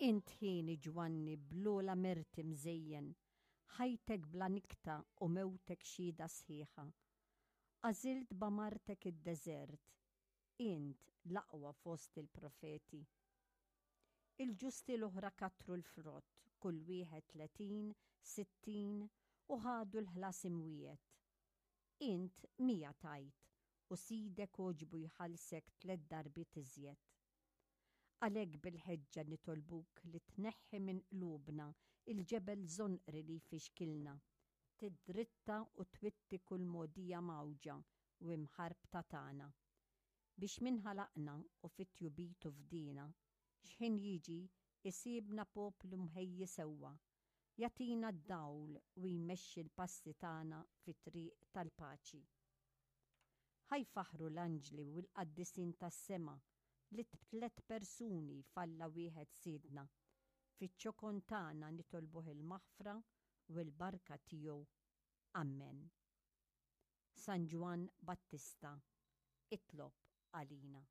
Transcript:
Int hieni Ġwanni bl-ogħla merti mżejjen, ħajtek bla nikta u mewtek xhieda sħiħa. Għażilt b'għamartek id-deżert, int l-aqwa fost il-profeti. Il-ġusti l-oħra kattru l-frott, kull wieħed 30, 60, u ħadu l-ħlas imwiegħed. Int 100 tajt, u Sidek għoġbu jħallsek tliet darbiet iżjed. Għalhekk bil-ħeġġa nitolbuk li tneħħi minn qlubna l-ġebel żonqri li jfixkilna, tiddritta u twitti kull mogħdija mgħawġa u imħarbta tagħna. Biex min ħalaqna u fi tjubitu fdiena, x'ħin jiġi jsibna poplu mħejji sewwa, jagħtina d-dawl u jmexxi l-passi tagħna fit-triq tal-paċi. Ħa jfaħħru l-anġli u l-qaddisin tas-sema li b'tliet persuni f'Alla wieħed Sidna. Fiċ-ċokon tagħna nitolbuh il-maħfra u l-barka tiegħu. Ammen. San Ġwann Battista, itlob għalina.